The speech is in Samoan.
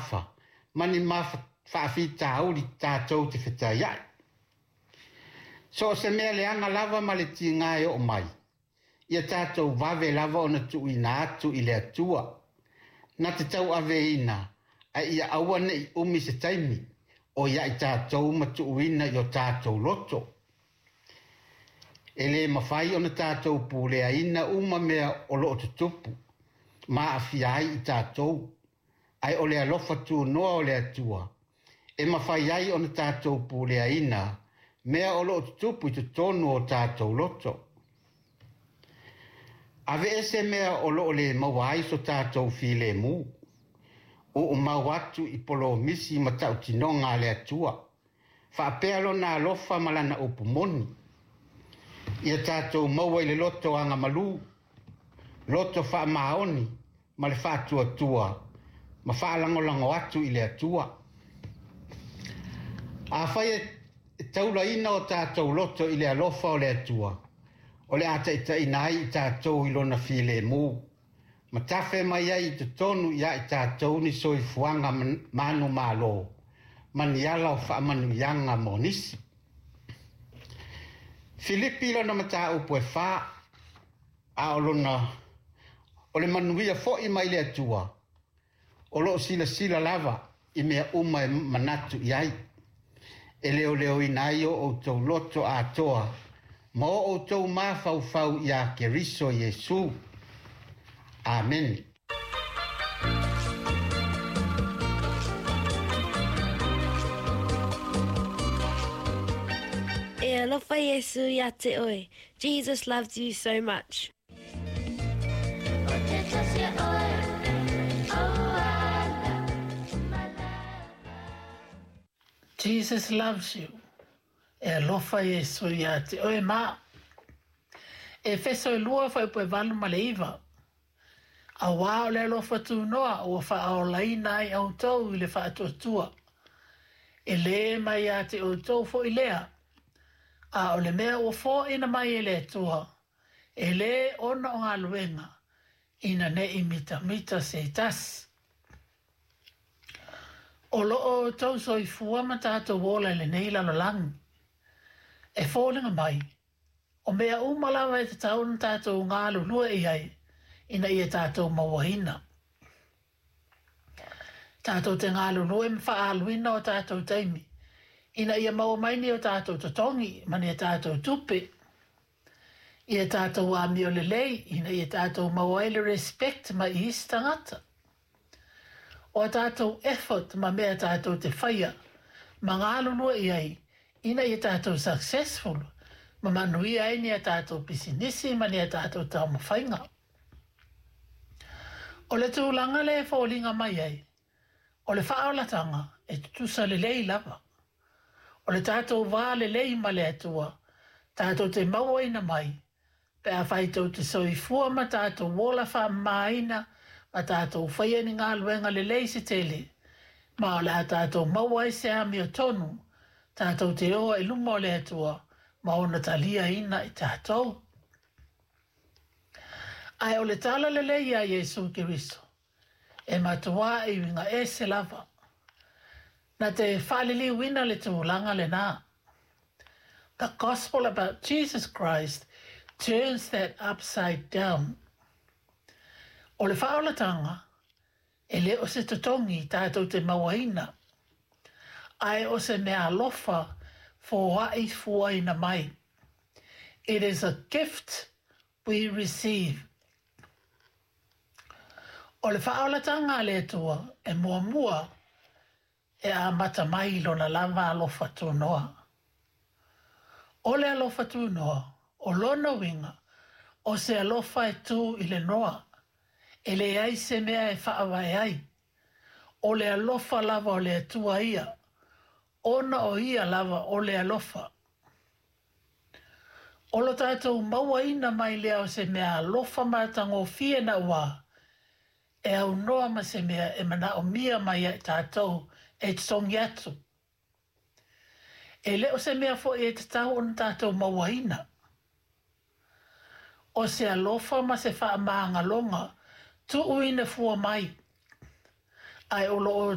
afa ma ni faafitauli tatou te fetaiai. So o se mea leaga lava ma le tiga e oo mai, ia tatou vave lava ona tuuina atu i le Atua. Na te tauaveina, ae ia aua ne'i umi se taimi o ia i tatou ma tuuina i o tatou loto. E lē mafai ona tatou puleaina uma mea o loo tutupu ma aafia ai i tatou, ae o le alofa tunoa o le Atua e mafai ai ona tatou puleaina mea o loo tutupu i totonu o tatou loto. Aveese mea o loo lē maua ai so tatou filemu, uumau atu i polomisi ma tautinoga a le Atua, faapea lona alofa ma lana upu moni. Ia tatou maua i le loto agamalu, loto faamaoni ma le faatuatua ma faalagolago atu i le Atua. Afai e taulaina o tatou loto i le alofa o le Atua, o le a taitaiina ai i tatou i lona filemu, ma tafe mai ai i totonu ia i tatou ni soifuaga manumalo ma ni ala o faamanuiaga mo nisi. Filipi lona mataupu e 4, a o lona o le manuia fo'i mai le Atua, o loo silasila lava i mea uma e manatu i ai, e leoleoina ai o outou loto atoa ma o outou mafaufau iā Keriso Iesu. Amene. E alofa Iesu ia te oe. Jesus loves you so much. Jesus loves you. E alofa Iesu ia te oe ma. Efeso e 2 fuaiupu e 8 ma le 9. Auā o le alofa tunoa ua faaolaina ai outou i le faatuatua. E lē mai ia te outou foi lea, a o le mea ua foaina mai e le Atua, e lē ona o galuega, ina ne'i mitamita se tasi. O loo outou soifua ma tatou ola i lenei lalolagi. E foliga mai, o mea uma lava e tatau ona tatou galulue i ai, ina ia tatou mauaina. Tatou te galulue ma faaaluina o tatou taimi, ina ia maua mai ni o tatou totogi ma ni a tatou tupe. Ia tatou amio lelei, ina ia tatou maua ai le respect mai i isi tagata. O a tatou effort ma mea tatou te faia ma galulue i ai, ina ia tatou successful ma manuia ai ni a tatou pisinisi ma ni a tatou taumafaiga. O le tulaga lea e foliga mai ai, o le faaolataga e tutusa lelei lava. O le tatou va lelei ma le Atua, tatou te mauaina mai, pe afai tou te soifua ma tatou ola faamamaina ma tatou faia ni galuega lelei se tele, ma o le a tatou maua ai se amiotonu, tatou te oa i luma o le Atua ma ona taliaina i tatou. Ae o le tala lelei ia Iesu Keriso, e matuā e uiga ese lava. Na te faaliliuina le tulaga lenā. The gospel about Jesus Christ turns that upside down. O le faaolataga, e le o se totogi tatou te mauaina, ae o se meaalofa foai fuaina mai. It is a gift we receive. O le faaolataga a le Atua e muamua e amata mai i lona lava alofa tunoa. O le alofa tunoa, o lona uiga, o se alofa e tu i le noa, e leai se mea e faavae ai. O le alofa lava o le Atua ia, ona o ia lava o le alofa. O lo tatou mauaina mai lea o se meaalofa matagofie nauā, e aunoa ma se mea e manaomia mai ia i tatou e totogi atu. E le o se mea foi e tatau ona tatou mauaina. O se alofa ma se faamagaloga tuuina fua mai, ae o loo